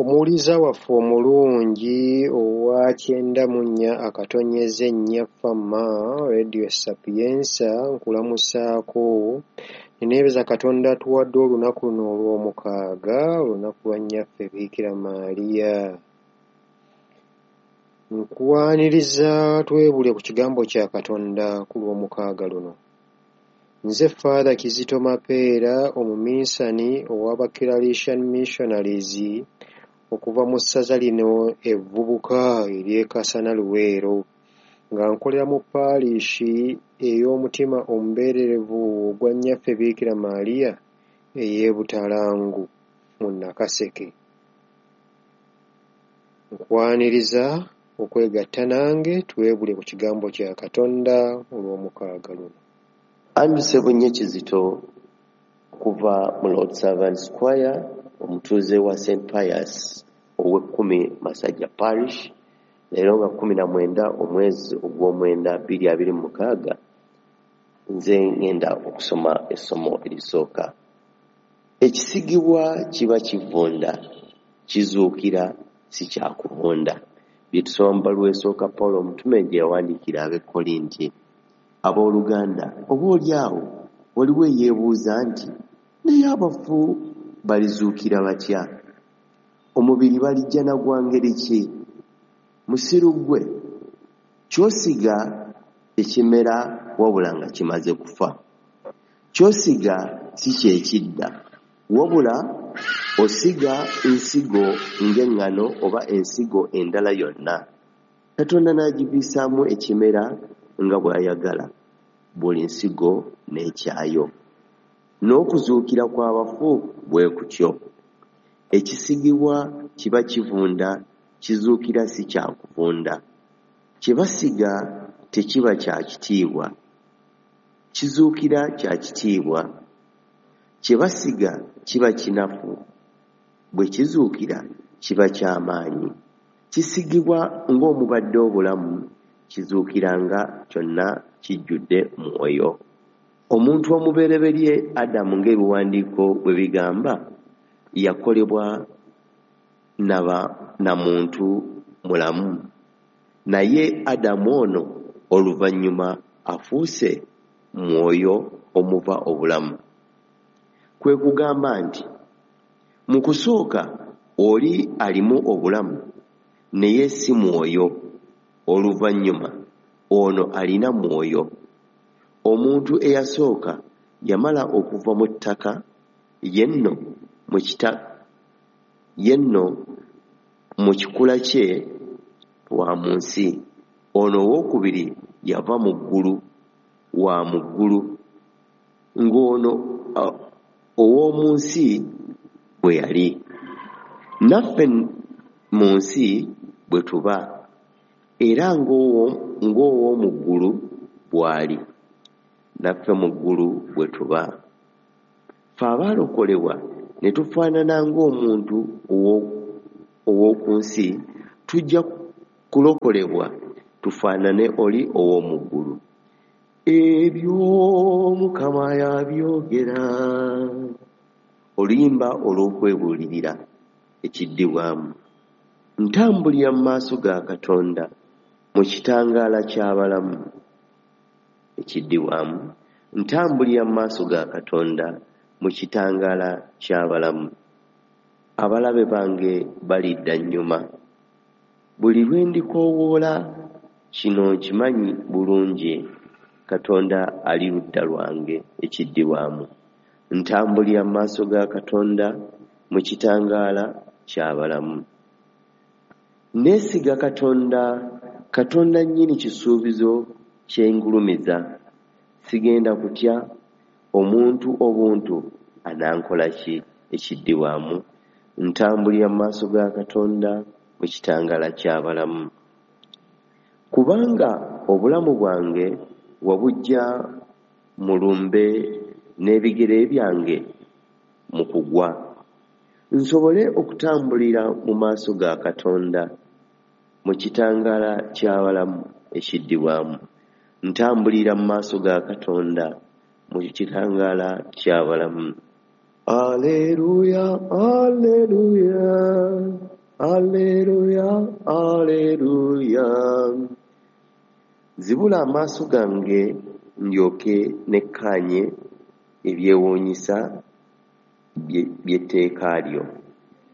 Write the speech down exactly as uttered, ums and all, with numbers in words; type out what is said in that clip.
Omuwuliza waffe omulungi owa kyenda mu nnya akatonyeze nnya Fama Radio Sapienza, nkulamusaako ne neebaza Katonda atuwadde olunaku luno olw'omukaaga, olunaku lwa Nnyaffe Biikira Maria. Nkwaniriza twebule ku kigambo kya Katonda ku lw'omukaaga luno. Nze Father Kizito Mapeera, omuminsani ow'Aba Claretian Missionaries okuva mu ssaza lino evvubuka ery'e Kasana Luweero, nga nkolera mu parish ey'omutima omubeererevu ogwa Nnyaffe Biikira Maria ey'e Butalangu mu Nakaseke. Nkwaniriza okwegatta nange twebule ku kigambo kya Katonda olw'omukaaga luno. Andrew Ssebunnye Kizito okuva mu Lord Servants Choir, omutuuze wa Saint Pius ow'ekkumi Masajja Parish, leero nga kkumi na mwenda omwezi ogw'omwenda bbiri abiri mu mukaaga, nze ngenda okusoma essomo erisooka. Ekisigibwa kiba kivunda, kizuukira si kya kuvunda. Bye tusoma mu bbaluwa esooka Pawulo omutume gye yawandiikira ab'e Korinti. Abooluganda, oboolyawo waliwo eyeebuuza nti, naye abafu balizuukira batya? Omubiri balijja na gwa ngeri ki? Musiru ggwe, ky'osiga tekimera wabula nga kimaze kufa. Ky'osiga si kye kidda, wabula osiga nsigo ng'eŋŋano oba ensigo endala yonna. Katonda n'agiviisaamu ekimera nga bw'ayagala, buli nsigo n'ekyayo. N'okuzuukira kw'abafu bwe kutyo. Ekisigibwa kiba kivunda, kizuukira si kya kuvunda. Kye basiga tekiba kya kitiibwa, kizuukira kya kitiibwa. Kye basiga kiba kinafu, bwe kizuukira kiba kya maanyi. Kisigibwa ng'omubadde obulamu, kizuukira nga kyonna kijjudde mwoyo. Omuntu omubereberye Adamu ng'ebiwandiiko bwe bigamba, yakolebwa na na muntu mulamu. Naye Adamu ono oluvannyuma afuuse mwoyo omuva obulamu. Kwe kugamba nti mu kusooka oli alimu obulamu naye si mwoyo, oluvannyuma ono alina mwoyo. Omuntu eyasooka yamala okuva mu ttaka, ye nno mu kita ye nno mu kikula kye wa mu nsi. Ono owookubiri yava mu ggulu, wa mu ggulu, ng'ono ow'omu nsi bwe yali. Naffe mu nsi bwe tuba, era ng'ow'omu ggulu bw'ali, naffe mu ggulu bwe tuba. Ffe abaalokolebwa ne tufaanana ng'omuntu ow'oku nsi, tujja kulokolebwa tufaanane oli ow'omu ggulu. Ebyo Mukama yabyogera. Oluyimba olw'okwebuulirira ekiddibwamu. Ntambulira mu maaso ga Katonda mu kitangaala ky'abalamu. Ekiddibwamu. Ntambulira mu maaso ga Katonda mu kitangaala ky'abalamu. Abalabe bange balidda nnyuma. Buli lwe ndikoowoola kino nkimanyi bulungi, Katonda ali ludda lwange. Ekiddibwamu. Ntambulira mu maaso ga Katonda mu kitangaala ky'abalamu. Neesiga Katonda, Katonda nnyini kisuubizo kye ngulumiza. Sigenda kutya, omuntu obuntu anankola ki? Ekiddibwamu. Ntambulira mu maaso ga Katonda mu kitangaala ky'abalamu. Kubanga obulamu bwange wabuggya mu lumbe n'ebigere byange mu kugwa, nsobole okutambulira mu maaso ga Katonda mu kitangaala ky'abalamu. Ekiddibwamu. Ntambulira mu maaso ga Katonda mu kitangaala ky'abalamu. Alleluya, alleluya. Alleluya, alleluya. Zibula amaaso gange ndyoke nekkaanye ebyewuunyisa by'etteeka lyo.